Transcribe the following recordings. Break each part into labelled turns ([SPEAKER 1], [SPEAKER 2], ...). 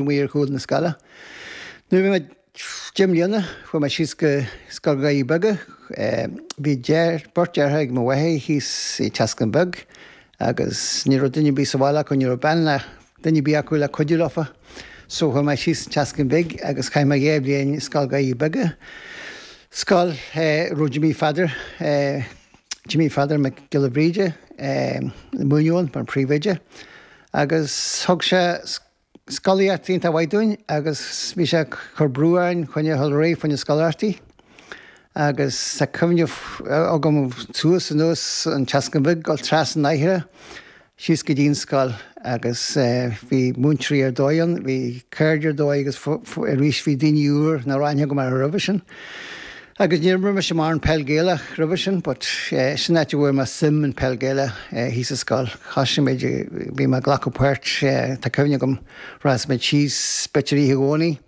[SPEAKER 1] Amuigh ar chúl na scoile. Nuair a bhí mé 10 mbliana, chuaigh mé síos go Scoil Dhoirí Beaga. Bhí beirt deartháir ag mo mháthair thíos i Teascán Beag agus ní raibh duine ar bith sa bhaile acu, ní raibh bean ná duine ar bith acu le cuidiú leofa. So chuaigh mé síos Teascán Bhig agus chaith mé 2 bhliain i Scoil Dhoirí Beaga. Scoil a raibh Jimí Pheadair, Jimí Pheadair Mac Giolla Bhríde, ag múineadh ann mar phríomhoide agus thug sé scolaíocht iontach mhaith dúinn agus bhí sé ag cur brú orainn choinne a dhul ar aghaidh fá choinne scoláireachtaí agus tá cuimhne agam suas anuas an Teascán Bhig dul trasna an Mhachaire síos go dtí an scoil agus bhí múinteoirí ar dóigh ann, bhí cairde ar dóigh agus arís bhí daoine úr nach raibh aithne agam orthu roimhe sin. Agus níor imir mise mórán peil Gaelach roimhe sin but sin áit a bhfuair mé suim in peil Gaelach thíos sa scoil. Thosaigh muid, bhí mé ag glacadh páirt, tá cuimhne agam rachadh muid síos b'fhéidir oíche Dhomhnaigh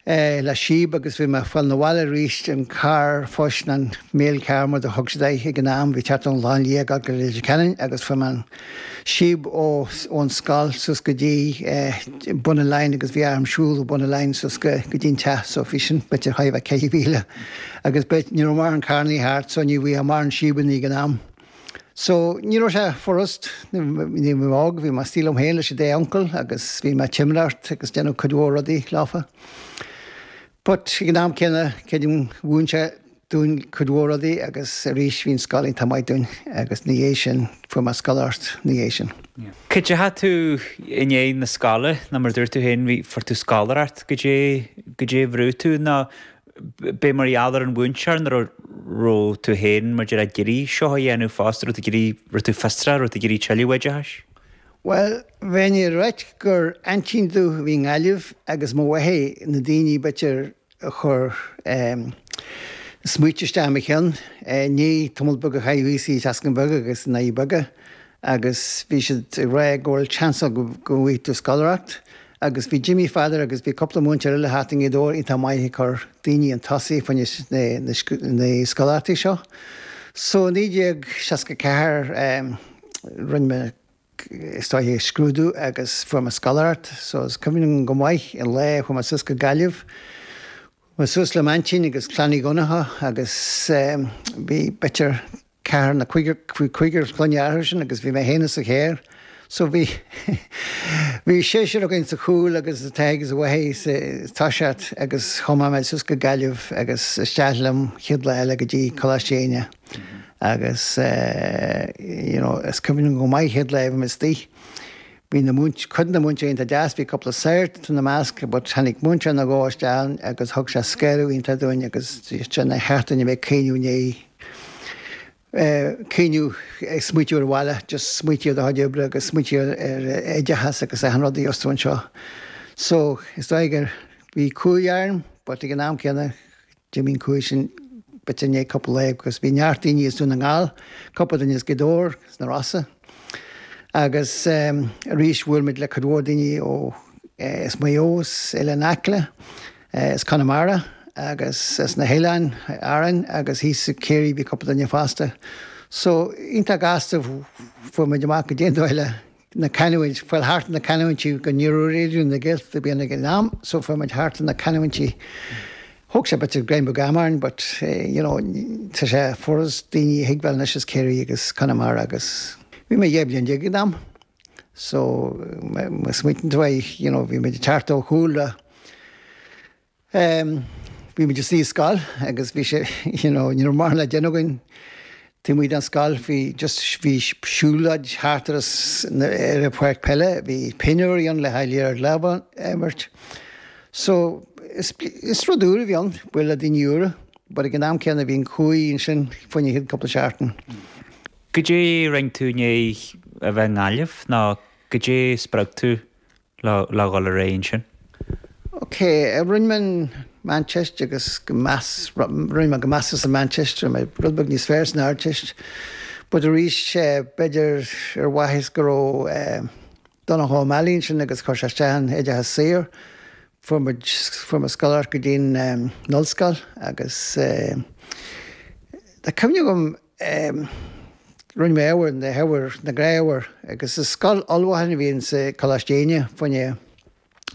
[SPEAKER 1] le síob agus bhí mé ag fáil na bhaile arís an carr phoist nó an mail car mar a thug siad air ag an am, bhí teacht ón Ghleann Liath go Leitir Ceanainn agus fuair mé an síob ó ón scoil suas go dtí Bun an Oileáin agus bhí orm siúl ó Bun an Oileáin suas go go dtí an teach so bhí sin b'fhéidir chóir a bheith 4 mhíle agus b'fhéidir ní raibh mórán carrannaí thart so ní bhíodh mórán síobannaí ag an am. So ní raibh sé furast, ní bhí mé óg, bhí mé istigh liom féin leis an dá uncail agus bhí mé ag timireacht agus déanamh cuid mhór rudaí leofa. But ag an am céanna creidim mhúin sé dúinn cuid mhór rudaí agus arís bhí an scoil iontach maith dúinn agus ina dhiaidh sin fuair mé scoláireacht ina dhiaidh sin.
[SPEAKER 2] Cad é a tú i ndiaidh na scoile nó mar a dúirt tú féin bhí fuair tú scoláireacht goidé goidé a bhrúigh tú nó b'é mar gheall ar an mhúinteoir nó raibh raibh tú féin mar a déarfá ag iarraidh seo a dhéanamh fosta raibh tú ag iarraidh raibh tú fiosrach raibh tú ag iarraidh tuilleadh oideachais?
[SPEAKER 1] Bhuel, bheinn ag ráit gur aintín domh a bhí i nGaillimh agus mo mháthair na daoine b'fhéidir a chuir smaoite isteach i mo cheann. I ndiaidh tamall beag a chaitheamh thíos i Teascán Bheag agus i nDoirí Beaga agus bhí siad ag rá go bhfuil chance ann go bhfaighidh tú scoláireacht agus bhí Jimmy Pheadair agus bhí cúpla múinteoir eile thart i nGaoth Dobhair iontach maith ag cur daoine chun tosaigh fá choinne na scoláireachtaí seo. So 1964 rinne mé is dóiche scrúdú agus fuair mé scoláireacht so is cuimhin liom go maith an lá a chuaigh mé suas go Gaillimh. Chuaigh mé suas le m'aintín agus Clann Uí Dhonnchadha agus bhí b'fhéidir ceathrar nó cúigear, bhí cúigear clainne orthu sin agus bhí mé féin sa charr so bhí bhí seisear againn sa chúl agus an t-athair agus an mháthair sa toiseacht agus thiomáin mé suas go Gaillimh agus isteach liom chéad lá eile go dtí Coláiste Éinne. Agus you know is cuimhin liom go maith chéad lá a bhí mé istigh, bhí na múint, cuid de na múinteoirí iontach deas, bhí cúpla sagart ina measc but tháinig múinteoir nó dhó isteach agus thug sé scaradh iontach dúinn agus nár cheart dúinn a bheith ag caoineadh i ndiaidh caoineadh ag smaoitiú ar an bhaile, just smaoitiú ar do chuid oibre agus smaoitiú ar oideachas agus achan rud a gheobhas tú anseo. So is dóigh gur bhí cumhaidh orm but ag an am céanna D'imigh an chumhaidh sin b'fhéidir i ndiaidh cúpla lá agus bhí neart daoine as Dún na nGall, cúpla duine as Gaoth Dobhair, as na Rosa agus arís bhuail muid le cuid mhór daoine ó as Maigh Eo, as Oileán Acla, as Conamara agus as na hOileáin Árainn agus thíos i Ciarraí bhí cúpla duine fosta. So iontach gasta fuair muid amach goidé an dóigh le na canúint, fáil thart na canúintí go ní raibh Raidió na Gaeltachta bíonn ag an am so fuair muid thart na canúintí. Thóg sé b'fhéidir greim beag ama orainn but you know tá sé furast daoine a thuigbheáil anois as Ciarraí agus Conamara agus bhí mé 12 bliain ag an am so má smaoitíonn tú air you know bhí muid ag teacht ó chúlra Bhí muid istigh i scoil agus bhí sé, you know, ní raibh mórán le déanamh againn taobh amuigh den scoil. Bhí just, bhí siúlóid thart ar ar an pháirc peile, bhí pinniúirí ann le haghaidh liathróid láimhe a imirt. So, is, is rud úr a bhí ann, bualadh le daoine úra, but ag an am céanna bhí an chumhaidh ansin fá choinne an chéad cúpla seachtain.
[SPEAKER 2] Goidé a rinne tú i ndiaidh a bheith i nGaillimh nó goidé a spreag tú le dhul ar aghaidh ansin.
[SPEAKER 1] Ok, rinne mé an Meánteist agus go meas, rinne mé go measartha sa Mheánteist, rinne mé rud beag níos fearr san Ardteist, but arís b'fhéidir ar mhaithe is go raibh Donncha Ó Meallaigh ansin agus chuir sé isteach an oideachas saor, fuair muid, fuair mé scoláireacht go dtí an ollscoil agus tá cuimhne agam, Rinne mé ábhair, na hábhair, na gnáthábhair agus is scoil ullmhúcháin a bhí in sa Coláiste Éinne fá choinne.